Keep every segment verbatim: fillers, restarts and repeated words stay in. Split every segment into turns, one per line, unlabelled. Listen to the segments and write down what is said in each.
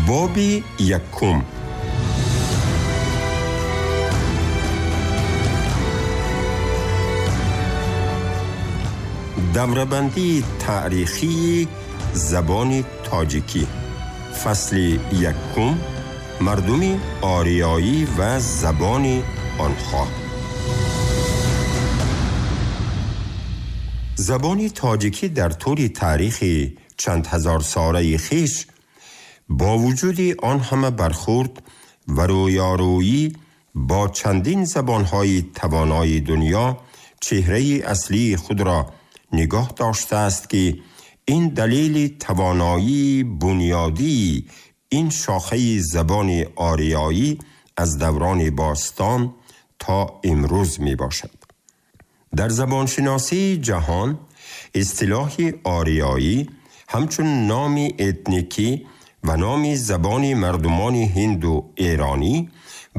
Боби якум. Даврабандии таърихии забони тоҷикӣ. Фасли якум. Мардуми ориёӣ ва забони онҳо. Забони тоҷикӣ дар тӯли таърихи чанд ҳазорсолаи хеш бо вуҷуди он ҳама бархӯрд ва рӯёрӯӣ бо чандин забонҳои тавонои дунё чеҳраи аслии худро нигоҳ доштааст, ки ин далели тавоноии бунёдии ин шохаи забони ориёӣ аз даврони бостон то имрӯз мебошад. Дар забоншиносии ҷаҳон истилоҳи ориёӣ ҳамчун номи этникӣ ва номи забони мардумони ҳинду эронӣ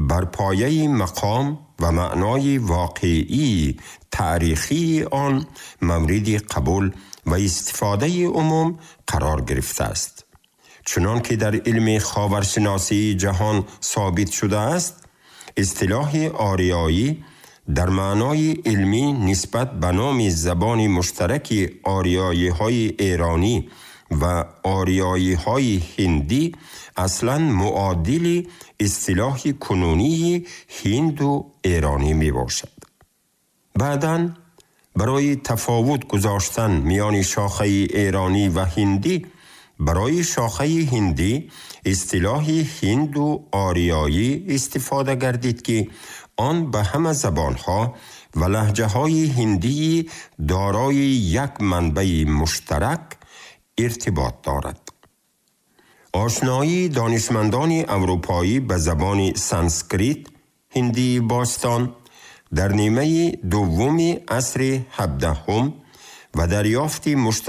бар пояи мақом ва маънои воқеии таърихии он мавриди қабул ва истифодаи умум қарор гирифтааст. Чунон ки дар илми ховаршиносии ҷаҳон собит шудааст, истилоҳи ориёӣ дар маънои илмӣ нисбат ба номи забони муштараки ориёиҳои эронӣ ва ориёиҳои ҳиндӣ аслан муодили истилоҳи кунунии ҳинду эронӣ мебошад. Баъдан барои тафовут гузоштан миёни шохаи эронӣ ва ҳиндӣ барои шохаи ҳиндӣ истилоҳи ҳинду ориёӣ истифода гардид, ки он ба ҳама забонҳо ва лаҳҷаҳои ҳиндии дорои як манбаи муштарак иртибот дорад. Ошноии донишмандони аврупоӣ ба забони санскрит ҳиндии бостон дар нимаи дуввуми асри ҳабдаҳум ва дарёфти муштарак